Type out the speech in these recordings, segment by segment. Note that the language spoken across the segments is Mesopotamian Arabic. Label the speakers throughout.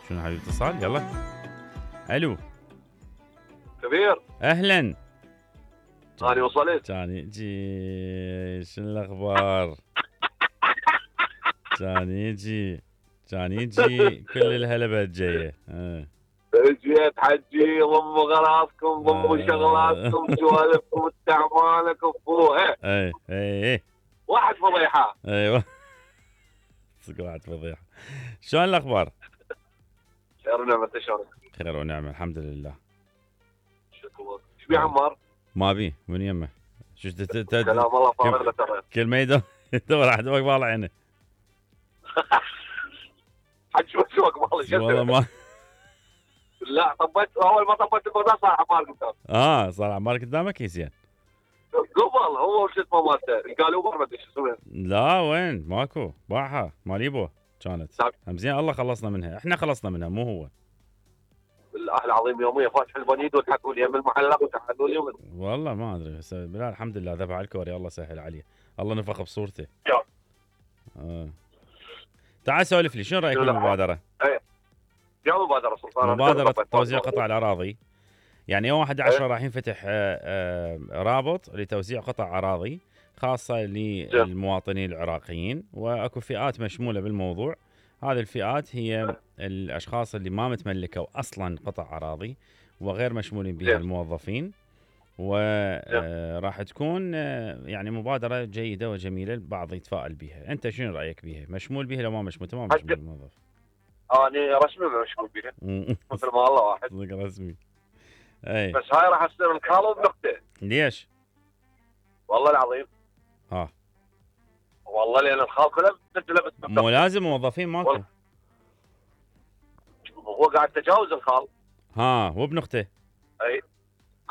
Speaker 1: شنو حبيبي اتصال؟ يلا. الو
Speaker 2: كبير.
Speaker 1: اهلا.
Speaker 2: أنا وصلت.
Speaker 1: كان يجي شنو الاخبار؟ كان يجي كل الهلبة جايه.
Speaker 2: جيت حجي ضموا غراضكم ضموا شغلاتكم سوالفكم استعمالكم فوها.
Speaker 1: اي
Speaker 2: واحد فضيحه.
Speaker 1: ايوه صدق واحد فضيحه. شلون الاخبار؟
Speaker 2: خير ونعمه. انت شلونك؟
Speaker 1: خير ونعمه الحمد لله.
Speaker 2: شكرا. ايش بيه عمار؟
Speaker 1: ما بيه من يمه. شو
Speaker 2: كلام الله فارغ له ترى.
Speaker 1: كل ما يدور احد وقف عينه.
Speaker 2: حج شوك مالي
Speaker 1: والله ما
Speaker 2: لا طبيت اول ما طبيت البردان صار عمار قدام.
Speaker 1: صار عمار قدامك يا زين.
Speaker 2: قبل هو شو اسمه مالته قال اوبر ما ادري شو اسمه.
Speaker 1: لا وين ماكو باعها ماليبو كانت. هم زين الله خلصنا منها. احنا خلصنا منها مو هو.
Speaker 2: بالله العظيم يوميا فاتح البنيد وتحكوا لي يم المعلق وتحكوا لي
Speaker 1: والله ما ادري بس بالله الحمد لله ذبح الكوري الله سهل عليه. الله نفخ بصورته. تعال سولف لي شنو رايك بالمبادره؟
Speaker 2: يا مبادره سلطان.
Speaker 1: مبادره توزيع قطع الاراضي. يعني يوم 11 راح ينفتح رابط لتوزيع قطع اراضي خاصه للمواطنين العراقيين واكو فئات مشموله بالموضوع. هذه الفئات هي الاشخاص اللي ما متملكوا اصلا قطع اراضي وغير مشمولين بها الموظفين. وراح تكون يعني مبادره جيده وجميله البعض يتفائل بها. انت شنو رايك بها؟ مشمول بها لو ما مشمول؟ تمام مشمول بالموظف.
Speaker 2: انا رسمي مشمول بها مثل ما الله واحد.
Speaker 1: صدق رسمي. اي
Speaker 2: بس هاي راح تصير الخاله بنقطه.
Speaker 1: ليش؟
Speaker 2: والله العظيم. والله لان الخال كله مسجله بس
Speaker 1: مو لازم موظفين ماكو.
Speaker 2: هو قاعد تجاوز الخال.
Speaker 1: هو بنقطه.
Speaker 2: اي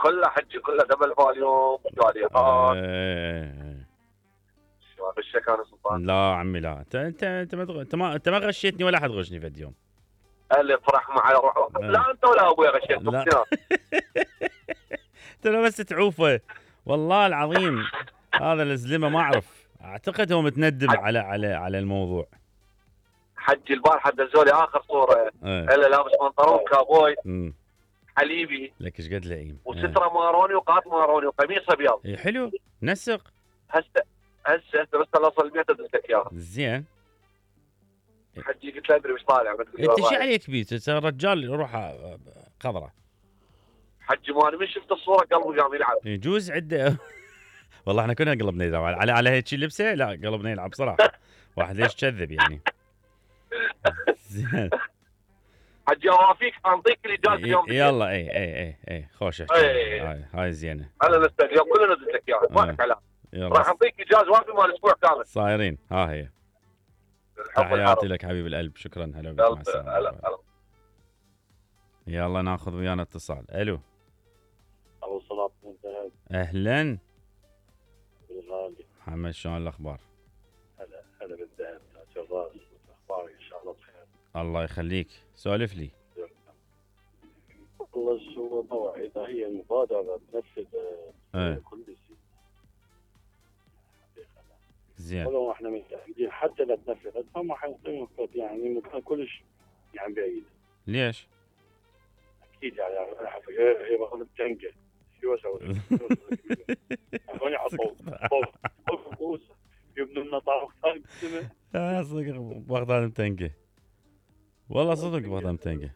Speaker 2: كله حجي كله دبل فاليوم جاليات. شو غشك انا سلطان؟
Speaker 1: لا عمي لا. انت ما غشيتني ولا حد غشني في اليوم.
Speaker 2: اللي فرح معي روح. لا انت ولا ابوي غشيت.
Speaker 1: لا انت بس تعوفه والله العظيم. هذا الزلمه ما اعرف. اعتقد هو متندم على الموضوع.
Speaker 2: حجي البارحه دزوا لي اخر صوره. الا لابس بنطلون كابوي حليبي.
Speaker 1: لك ايش قد لئيم.
Speaker 2: وستره ماروني وقاط ماروني وقميص ابيض.
Speaker 1: حلو نسق.
Speaker 2: هسه بس اصل البيت ادز لك اياها.
Speaker 1: زين.
Speaker 2: حجي قلت له ادري وش طالع.
Speaker 1: انت شو عليك بيه؟ رجال روحه خضره.
Speaker 2: حجي مالي من شفت الصوره قلبي قام يلعب.
Speaker 1: يجوز عده. والله احنا كنا قلبنا يلعب على هيك لبسه. لا قلبنا يلعب صراحه. واحد ليش كذب يعني. زين.
Speaker 2: حجي اوافيك انطيك الاجازه اليوم.
Speaker 1: يلا اي خوش هاي زينه.
Speaker 2: انا نستغل كلنا نزلت لك اياها ما لك كلام. راح اعطيك اجازه وافي مال اسبوع كامل.
Speaker 1: صايرين ها هي. تحياتي لك حبيب القلب. شكرا. هلا بك. مع السلامه. يلا ناخذ ويانا اتصال. الو.
Speaker 3: ابو صلاح بن ذهب.
Speaker 1: اهلا
Speaker 3: بالغالي
Speaker 1: محمد. شلون الاخبار؟
Speaker 3: هلا بالذهب. شغال. اخبارك ان شاء الله بخير.
Speaker 1: الله يخليك. سولف لي.
Speaker 3: والله شو موضوع اذا هي المبادره تنفذ كل شيء
Speaker 1: زين.
Speaker 3: ولو احنا متاكدين حتى لا تنفذت فما حيعطيهم يعني مكان كلش يعني بعيد.
Speaker 1: ليش؟
Speaker 3: اكيد يعني هي باخذ تنقه. شو اسوي؟ هون يحطوا فوق يبنوا لنا طاوله ثاني.
Speaker 1: صدق بغداد متنقه. والله صدق بغداد متنقه.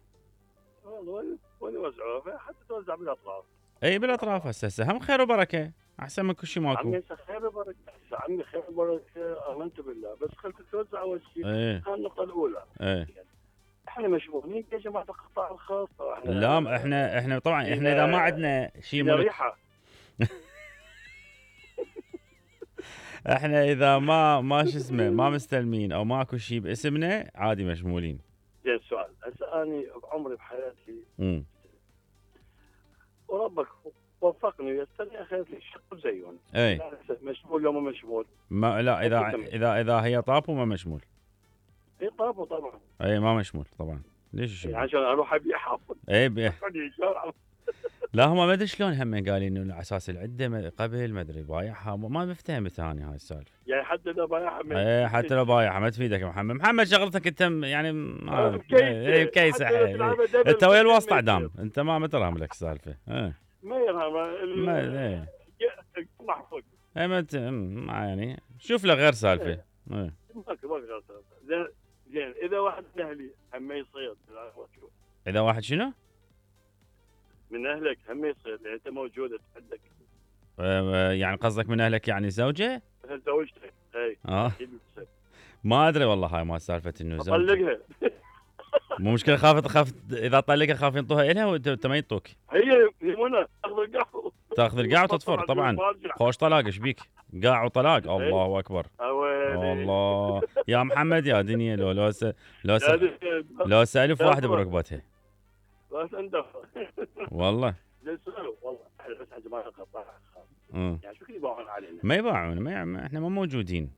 Speaker 3: والله وين يوزعوها حتى توزع بالاطراف.
Speaker 1: اي بالاطراف. هسه هم خير وبركه احسن من كل شيء ماكو.
Speaker 3: عمي خير وبركه. عمي خير وبركه امنت بالله بس خلك توزع اول شيء. هاي النقطه الاولى. احنا مشغولين يا جماعه القطاع الخاص.
Speaker 1: لا احنا طبعا احنا اذا ما عندنا شيء ملك. احنا اذا ما شو اسمه ما مستلمين او ماكو شيء باسمنا عادي مشمولين.
Speaker 3: زين سؤال. هسه اني بعمري بحياتي وربك وفقني ويسرني اخذت لي شق زيون. مشمول لو ما مشمول.
Speaker 1: لا اذا هي طاب وما مشمول.
Speaker 3: اي طاب طبعا.
Speaker 1: اي ما مشمول طبعا. ليش
Speaker 3: عشان اروح ابيع حافظ.
Speaker 1: اي لا هم ما ادري شلون هم قالين انه على اساس العده قبل ما ادري بايعها ما مفتهمت اني هاي السالفه.
Speaker 3: يعني حتى لو بايعها
Speaker 1: ايه حتى لو بايعها ما تفيدك يا محمد شغلتك انت يعني بكيسه. انت ويا الواسطه دام انت ما ترهم لك السالفه.
Speaker 3: ما يرهم
Speaker 1: ما محفوظ. اي ما يعني شوف له غير سالفه.
Speaker 3: زين اذا واحد من اهلي هم يصيد،
Speaker 1: اذا واحد شنو؟
Speaker 3: من اهلك هم يصيد، يعني انت موجود عندك.
Speaker 1: يعني قصدك من اهلك يعني زوجه؟
Speaker 3: مثل زوجتك اي.
Speaker 1: ما ادري والله هاي ما سالفه انه زوجه.
Speaker 3: طلقها.
Speaker 1: مو مشكله خافت اذا طلقها خاف ينطوها الها وانت ما ينطوك.
Speaker 3: هي منى
Speaker 1: تاخذ القاع وتطفر طبعا. خوش طلاق ايش بيك؟ قاع وطلاق. الله اكبر. الله يا محمد يا دنيا لو سالف واحده بركبتها.
Speaker 3: بس انت
Speaker 1: والله
Speaker 3: والله بس يا جماعه القطاع يعني شو كذا يباعون علينا؟
Speaker 1: ما يباعون احنا ما موجودين.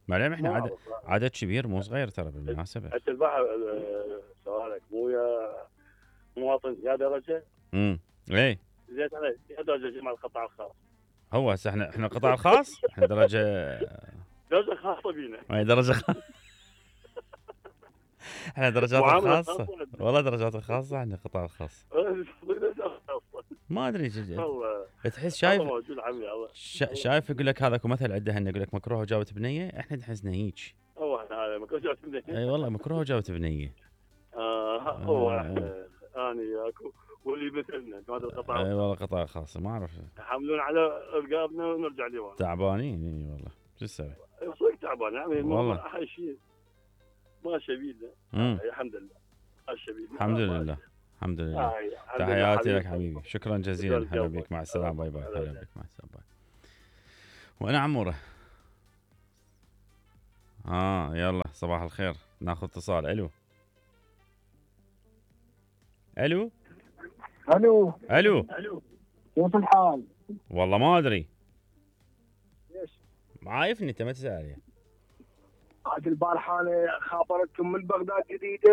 Speaker 1: معلم احنا عدد كبير مو صغير ترى بالمناسبه.
Speaker 3: انت الباحث سؤالك مو يا مواطن يا درجه؟
Speaker 1: ايه
Speaker 3: زيت عليه يا درجه جماعه القطاع الخاص.
Speaker 1: هو هسه احنا القطاع الخاص احنا درجه
Speaker 3: خاصه بينا.
Speaker 1: اي درجه احنا درجات خاصه والله درجات خاصه احنا القطاع الخاص. ما ادري تحس شايف يقول لك هذاك مثل عنده يقول لك مكروه وجاوبت بنيه. احنا تحسنا هيك.
Speaker 3: هو هذا مكروه جاوبت بنيه.
Speaker 1: اي والله مكروه وجاوبت بنيه.
Speaker 3: هو اني اكو واللي مثلنا هذا القطاع.
Speaker 1: اي والله قطاع خاص ما اعرف
Speaker 3: يحملون على رقابنا ونرجع لورا.
Speaker 1: تعبانين اي والله شو تسوي؟
Speaker 3: صدق تعبان يعني
Speaker 1: والله
Speaker 3: احلى شيء ما شبيله. الحمد لله
Speaker 1: الحمد لله الحمد لله. تحياتي لك حبيبي شكرا جزيلا. هلا بك مع السلامه. باي باي. هلا بك مع السلامه. باي. وانا عموره. يلا صباح الخير. ناخذ اتصال. الو الو
Speaker 4: الو
Speaker 1: الو
Speaker 4: كيف الحال؟
Speaker 1: والله ما ادري.
Speaker 4: ليش؟
Speaker 1: عايفني انت ما تسال.
Speaker 4: عاد البارحه انا خابرتكم من بغداد جديده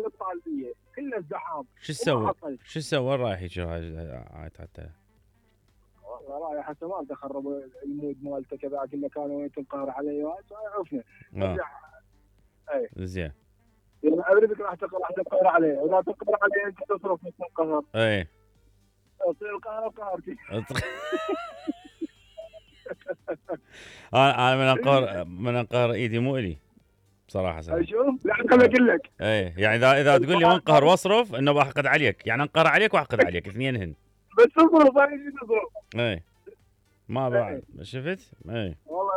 Speaker 4: للطالبيه كلها ازدحام.
Speaker 1: شو تسوي رايح هيك حتى؟
Speaker 4: والله رايح حتى ما تخرب المود مالته كذا كله كانوا تنقهر علي عرفنا.
Speaker 1: اي زين.
Speaker 4: يعني ادري راح تنقهر عليه، اذا تنقهر عليه انت تصرف مثل القهر.
Speaker 1: اي
Speaker 4: تصير القهر قهرتي.
Speaker 1: انا من انقهر ايدي مو الي بصراحه.
Speaker 4: شوف لا خليني اقول لك.
Speaker 1: اي يعني اذا تقول لي انقهر واصرف انه بحقد عليك، يعني انقهر عليك واحقد عليك اثنينهن.
Speaker 4: بس تصرف هاي تصرف.
Speaker 1: اي ما بعد شفت. اي
Speaker 4: والله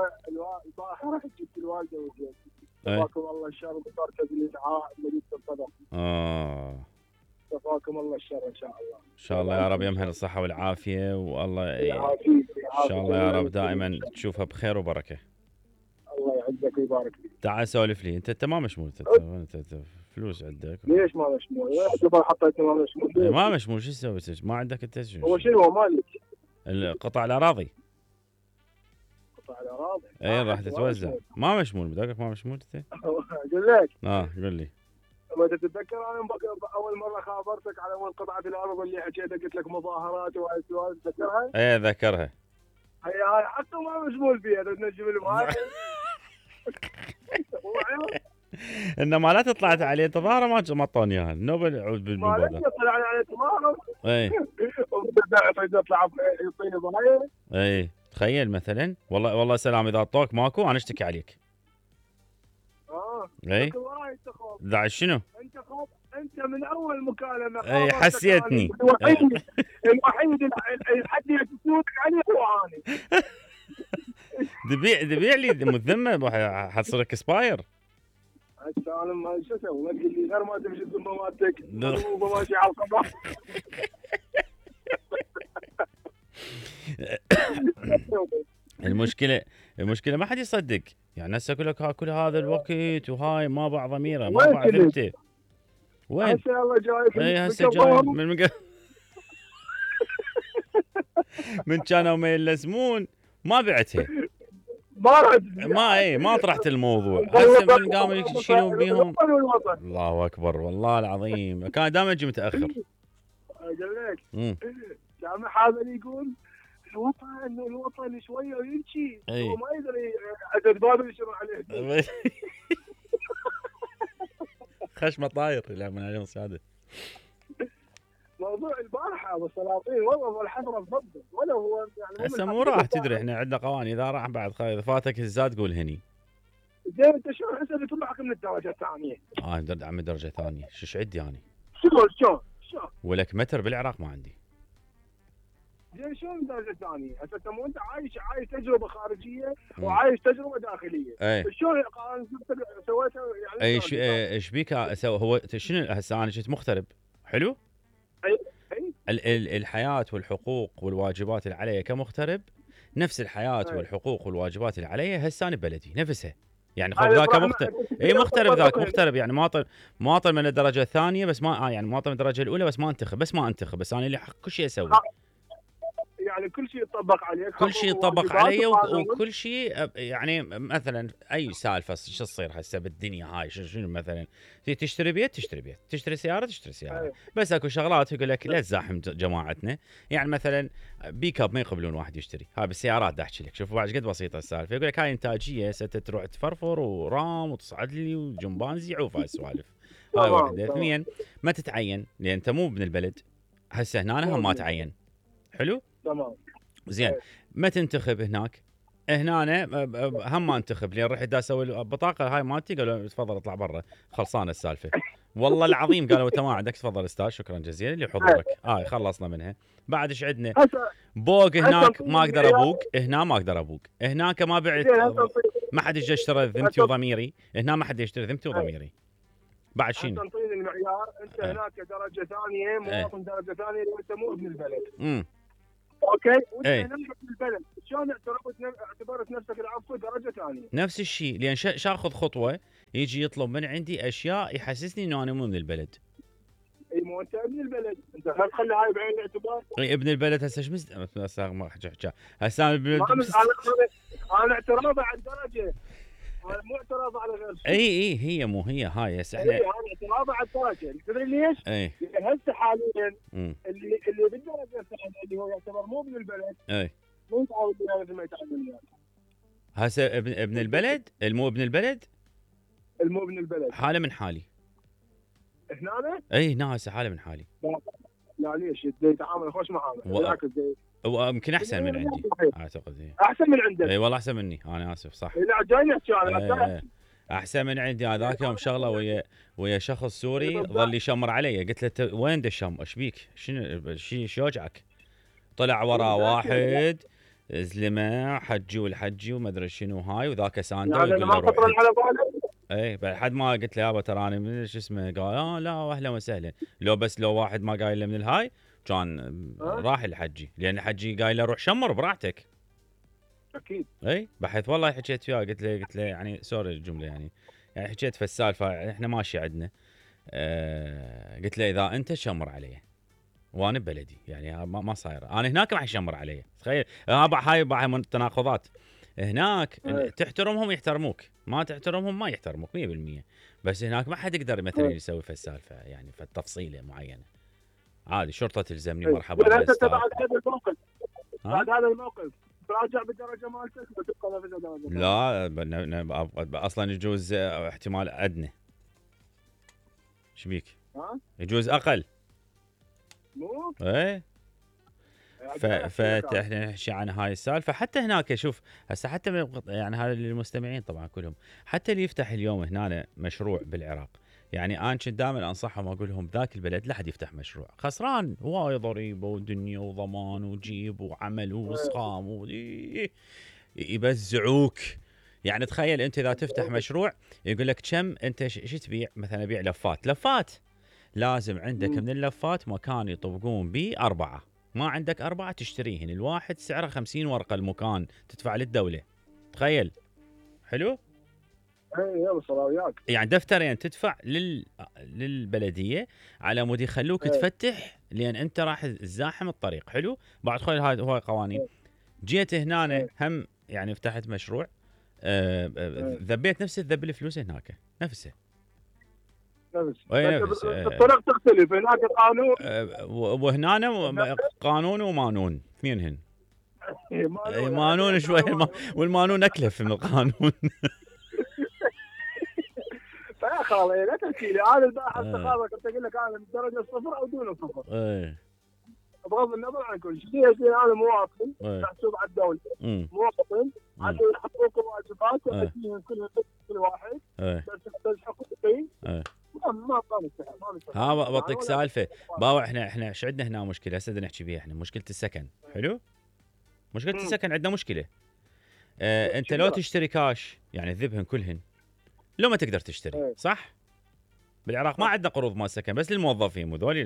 Speaker 4: البارحه رحت جبت الوالده وجيت. شفاكم الله الشر وصارت لي دعاء مجلس الصدر. شفاكم الله الشر ان شاء الله.
Speaker 1: ان شاء الله يا رب يمهل الصحه والعافيه والله ان شاء الله يا رب دائما تشوفها بخير وبركه.
Speaker 4: الله يعزك ويبارك فيك.
Speaker 1: تعال سولف لي انت ما مشمول. انت فلوس عندك.
Speaker 4: ليش ما مشمول؟ حطيت ما مشمول.
Speaker 1: ما مشمول شو تسوي؟ ما عندك انت شنو؟
Speaker 4: هو شنو مالك؟
Speaker 1: القطع الاراضي.
Speaker 4: قطع الاراضي.
Speaker 1: اي راح تتوزع. ما مشمول بدقك ما مشمول انت؟
Speaker 4: اقول لك.
Speaker 1: قول لي.
Speaker 4: ما تتذكر انا اول مره خابرتك على اول قطعه الارض اللي حكيتك قلت لك مظاهرات وهاي السوالف تذكرها؟
Speaker 1: اي ذكرها.
Speaker 4: هاي حتى ما مشمول فيها تنجم الماي.
Speaker 1: انما لا طلعت عليه تظاهره ما اعطوني اياها النوبل يعود بالمبادره.
Speaker 4: ما طلع عليه تظاهره.
Speaker 1: اي
Speaker 4: يطلع يعطيني ضايع.
Speaker 1: اي تخيل مثلا والله سلام اذا اعطوك ماكو انا اشتكي عليك. اي ذا شنو؟
Speaker 4: انت من اول مكالمه
Speaker 1: اي حسيتني.
Speaker 4: الوحيد اللي حد يسودك عليه هو اني.
Speaker 1: دبيع لي مذمه حتصير اكسباير.
Speaker 4: انا ما شو اسوي؟ ما تقول لي غير ما تمشي الذمه مالتك مو ماشي على القضاء.
Speaker 1: المشكله ما حد يصدق. يعني هسه اقول لك كل هذا الوقت وهاي ما باع ضميره ما باع ثبته. وين؟
Speaker 4: هسه الله جايك.
Speaker 1: اي هسه جاي من كانوا ما يلزمون ما بعتها. ما طرحت الموضوع. هسه من قاموا يشيلون بيهم. الله اكبر والله العظيم كان دائما اجي متاخر.
Speaker 4: اقول لك سامح هذا اللي يقول الوطن شويه ويمشي هو ما يقدر عدد باب يشرع عليه.
Speaker 1: خشمه طاير يلعبون عليهم سعاده.
Speaker 4: موضوع البارحه والسلاطين والله الحضره تفضل ولا هو يعني
Speaker 1: هسه مو راح تدري احنا عندنا قوانين اذا راح بعد اذا فاتك الزاد قول هني.
Speaker 4: زين انت شلون هسه بتطلعك من الدرجه الثانيه؟
Speaker 1: عمي درجه ثانيه شو عندي انا؟
Speaker 4: شلون؟
Speaker 1: ولك متر بالعراق ما عندي.
Speaker 4: زين شلون الدرجه الثانيه؟ هسه انت مو انت عايش تجربه خارجيه وعايش تجربه داخليه. شلون سويتها يعني؟
Speaker 1: ايش بيك هو شنو هسه انا كنت مغترب حلو؟ الحياه والحقوق والواجبات اللي علي كمغترب نفس الحياه والحقوق والواجبات اللي علي هسه انا ببلدي نفسها. يعني خذ ذاك مغترب ذاك مغترب يعني مواطن من الدرجه الثانيه بس ما يعني مواطن من الدرجه الاولى بس ما انتخب بس انا اللي حق كل شيء اسوي.
Speaker 4: يعني كل شيء يطبق عليك.
Speaker 1: كل شيء يطبق علي وكل شيء يعني مثلا اي سالفه شو تصير هسه بالدنيا هاي شنو مثلا تشتري بيت تشتري سياره بس اكو شغلات يقول لك لا تزاحم جماعتنا. يعني مثلا بيك اب ما يقبلون واحد يشتري هاي بالسيارات دا احكي لك. شوفوا بعد قد بسيطه السالفه. يقول لك هاي انتاجيه ستروح تفرفر ورام وتصعد لي وجمبانزي يعوف هاي السوالف. هاي واحده. اثنين ما تتعين لان انت مو ابن البلد. هسه هنا هم ما تعين حلو
Speaker 4: تمام
Speaker 1: زين. ما تنتخب هناك هنا هم ما انتخب لين رحت دا اسوي البطاقه هاي مالتي قالوا تفضل اطلع برا خلصانه السالفه. والله العظيم قالوا انت ما عندك تفضل استاذ شكرا جزيلا لحضورك. خلصنا منها. بعد ايش عندنا بوق هناك ما اقدر ابوق هنا ما اقدر ابوق هناك ما بعت ما حد يجي يشتري ذمتي وضميري هنا ما حد يشتري ذمتي وضميري. بعد شنو
Speaker 4: تنطيني المعيار انت هناك درجه ثانيه مواطن درجه ثانيه وانت مو ابن البلد. اوكي وانت هنا ابن البلد شلون اعتبرت نفسك العفو درجه ثانيه؟
Speaker 1: نفس الشيء لان شاخذ خطوه يجي يطلب من عندي اشياء يحسسني انه انا مو من البلد.
Speaker 4: اي مو انت ابن البلد انت خلي هاي بعين الاعتبار.
Speaker 1: ابن البلد هسه ايش ما حكى هسه
Speaker 4: انا اعتراضي على الدرجه مو اعتراض على غير
Speaker 1: شيء. هي مو هي هاي هسه احنا
Speaker 4: انا اعتراض على الدرجه تدري ليش؟ هسه حاليا اللي بالدرجه الثانيه اللي هو يعتبر مو ابن البلد مو يتعود وياه مثل ما يتعود وياه.
Speaker 1: هسه ابن البلد المو ابن البلد حاله من حالي
Speaker 4: هنا
Speaker 1: هنا هسه حاله من حالي.
Speaker 4: لا ليش يتعامل خوش معامله بالعكس
Speaker 1: يمكن احسن من عندي اعتقد.
Speaker 4: احسن من عندك.
Speaker 1: اي والله احسن مني انا اسف صح.
Speaker 4: لا جاي نحكي انا
Speaker 1: احسن من عندي. هذاك يوم شغله ويا شخص سوري ظل يشمر علي. قلت له وين دشم ايش بيك شنو شو يوجعك؟ طلع وراه واحد زلمه حجي والحجي وما ادري شنو هاي وذاك سانده
Speaker 4: يقول له روح على بالك.
Speaker 1: بعد ما قلت له يابا ترى انا من شو اسمه قال لا اهلا وسهلا. لو واحد ما قايل له من الهاي كان راح الحجي لان الحجي قايل له روح شمر براحتك.
Speaker 4: اكيد
Speaker 1: بحيث والله حكيت وياه قلت له يعني سوري الجمله يعني حكيت في السالفه احنا ماشي عندنا. قلت له اذا انت شمر علي وانا ببلدي يعني ما صاير انا هناك راح يشمر علي. تخيل هاي من التناقضات. هناك تحترمهم يحترموك ما تحترمهم ما يحترموك 100%. بس هناك ما حد يقدر مثلا يسوي في السالفه يعني في التفصيله معينه. عادي شرطه تلزمني مرحبا
Speaker 4: بعد هذا الموقف تراجع بالدرجه مالتك وتبقى في الدرجه.
Speaker 1: لا اصلا يجوز احتمال ادنى. ايش بيك؟ يجوز اقل
Speaker 4: مو
Speaker 1: فاحنا نحكي عن هاي السالفه. حتى هناك شوف هسه حتى يعني هذا للمستمعين طبعا كلهم حتى اللي يفتح اليوم هنا مشروع بالعراق يعني انا كنت دائما انصحهم اقول لهم ذاك البلد لا حد يفتح مشروع خسران هواي ضريبه ودنيا وضمان وجيب وعمل واسخام يبزعوك. يعني تخيل انت اذا تفتح مشروع يقول لك كم انت شو تبيع مثلا ابيع لفات لازم عندك من اللفات مكان يطبقون به 4 ما عندك 4 تشتريهن الواحد سعره 50 ورقه المكان تدفع للدوله. تخيل حلو. يعني دفترين تدفع للبلديه على مود يخلوك تفتح لان انت راح تزاحم الطريق. حلو. بعد خير هاي هو قوانين. جيت هنا هم يعني فتحت مشروع ذبيت نفس الذب الفلوس هناك نفسه
Speaker 3: الطرق تختلف، هناك قانون
Speaker 1: وهنا قانون ومانون اثنينهن. مانون شوي والمانون اكلف من القانون.
Speaker 3: فيا خالي لا تحكي لي هذا الباحث الثقافه كنت اقول لك انا من درجه 0 او دون 0. بغض النظر عن كل شيء، انا مواطن محسوب على الدوله، مواطن عندي حقوق وواجبات واديهم كل واحد، بس حقوقي ما
Speaker 1: ها بعطيك سالفه باوع. احنا ايش عندنا هنا مشكله هسه نحكي بيها. احنا مشكله السكن. حلو، مشكله السكن عندنا مشكله. انت لو تشتري كاش يعني تذبهن كلهن، لو ما تقدر تشتري صح. بالعراق ما عندنا قروض مال سكن، بس للموظفين وذول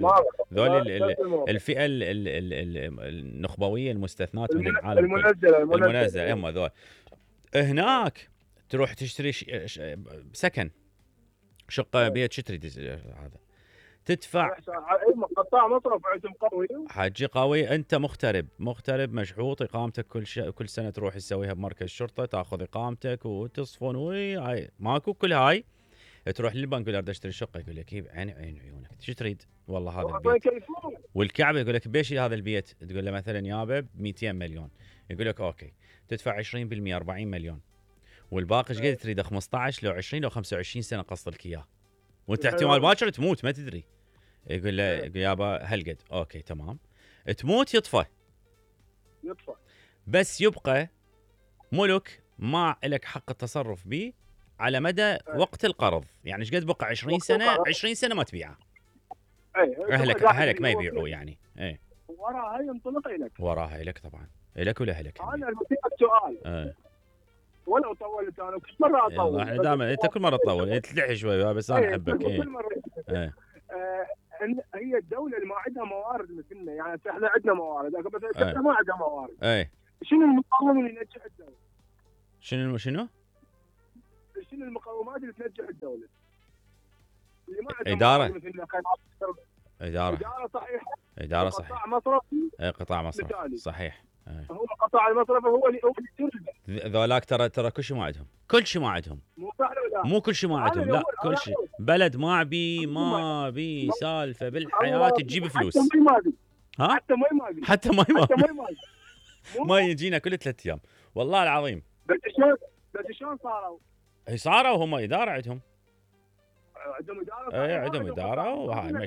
Speaker 1: الفئه النخبويه المستثنات من العالم المنزله هم ذول. هناك تروح تشتري سكن شقه بيت، شو تريد هذا تدفع
Speaker 3: قطاع مصرف عندهم قوي،
Speaker 1: حاجي قوي. انت مغترب مشحوط، اقامتك كل سنه تروح تسويها بمركز شرطه، تاخذ اقامتك وتصفن هاي ماكو. كل هاي تروح للبنك يقول اريد اشتري شقه، يقول لك عين عيونك شو تريد؟ والله هذا البيت. والكعبه يقول لك بيش هذا البيت، تقول له مثلا يابا ب 200 مليون، يقول لك اوكي تدفع 20% 40 مليون، والباقي ايش قد تريده؟ 15 لو 20 لو 25 سنه قسط لك اياه، وانت احتمال باكر تموت ما تدري. يقول له يابا هالقد، اوكي تمام. تموت يطفى بس يبقى ملك ما لك حق التصرف به على مدى وقت القرض. يعني ايش قد بقى 20 سنه 20 سنه ما تبيعه. اهلك ما يبيعوه يعني.
Speaker 3: وراها ينطلق لك،
Speaker 1: وراها لك طبعا، لك ولا اهلك.
Speaker 3: انا بسالك سؤال ولو طولت انا كل مره اطول.
Speaker 1: احنا دائما انت كل مره تطول تلحي شوي بس انا احبك.
Speaker 3: كل مره هي الدوله اللي ما عندها موارد مثلنا، يعني احنا عندنا موارد بس الدوله ما عندها موارد. شنو المقوم اللي ينجح الدوله؟
Speaker 1: شنو
Speaker 3: المقومات اللي تنجح الدوله؟ اللي ما
Speaker 1: عندها
Speaker 3: اداره صحيحه، قطاع مصرفي.
Speaker 1: قطاع مصرفي صحيح.
Speaker 3: هو القطاع المصرفي هو اللي
Speaker 1: ذولاك ترى كل شيء ما عندهم، كل شيء ما عندهم، مو كل شيء ما عندهم، لا كل شيء. بلد ما بي سالفه بالحياه تجيب فلوس. حتى ماي ما يجينا كل 3 ايام والله العظيم.
Speaker 3: بس شلون صاروا؟
Speaker 1: صاروا هم اداره عندهم
Speaker 3: اداره
Speaker 1: وهاي